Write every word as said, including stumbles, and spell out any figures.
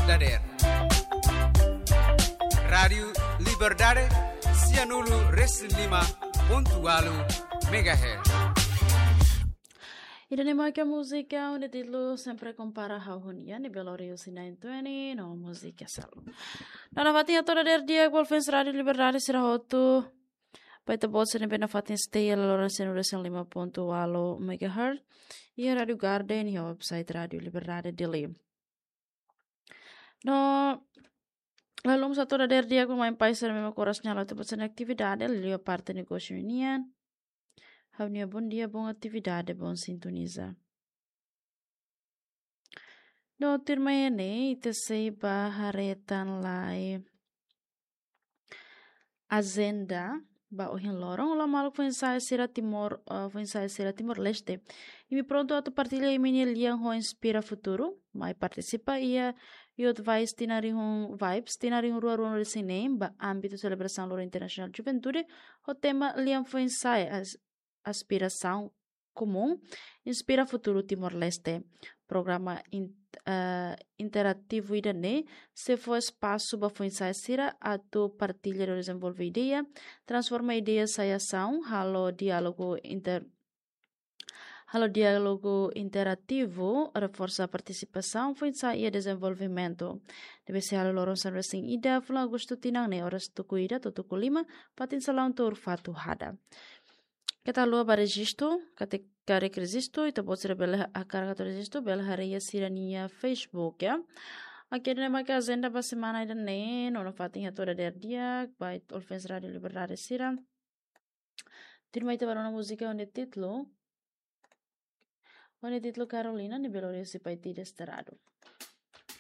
dadeer. Rádiu Liberdade, sianulu resin lima pontu ualu megahertz. Ida-ne'e mak múzika ho títulu Sempre Kompara Ha'u ho Nia, ne'ebé lori husi nine twenty, no múzika Salu. No nafatin hato'o dadeer di'ak ba ouvinte Rádiu Liberdade sira hotu. Ba ita-boot sira ne'ebé nafatin stay iha loloran sianulu resin lima pontu ualu megahertz. Iha Rádiu Garden, iha website Rádiu Liberdade Dili. No, lalika mós hato'o dadeer di'ak ba maun-alin sira ne'ebé mak oras ne'e halo atu ba sira-nia atividade, liuliu parte negósiu nian. Ha'u-nia bondia, boa atividade, boa sintoniza. No tuirmai ne'e, ita sei ba haree tan lai ajenda ba ohin loron. Olá maluk foin-sa'e sira Timor, eh, foin-sa'e sira Timor-Leste. Imi prontu atu partilla imi-nia lian ho Inspira Futuru? Mai partisipa iha Youth Vibes tinan rihun, Vibes tinan rihun rua ruanulu-resin-neen ba ámbitu selebrasaun Loron Internasionál Juventude, ho tema Lian Foin-sa'e, as-, aspirasaun komún, inspira futuru Timor-Leste. Programa in-, eh, interativu ida-ne'e sei fó espasu ba foin-sa'e sira atu partilla no dezenvolve ideia, transforma ideia sai asaun, halo diálogu inter-, halo diálogu interativu, reforsa partisipasaun foin-sa'e iha dezenvolvimentu. Ne'ebé sei halo loron sanulu-resin-ida fulan Agostu tinan ne'e, oras tuku ida to'o tuku lima, fatin salaun Tuur Fatuhada. Keta haluha ba rejistu, karik, karik rejistu, ita-boot sira bele ha-, hakarak atu rejistu, bele haree iha sira-nia Facebook, ya. Oke, ida-ne'e mak ajenda ba semana ida-ne'e, no nafatin hato'o dadeer di'ak ba ita ouvinte Rádiu Liberdade sira. Tuirmai ita ba rona múzika ho títulu, ho títulu Carolina, ne'ebé lori husi Paiti Desterrado.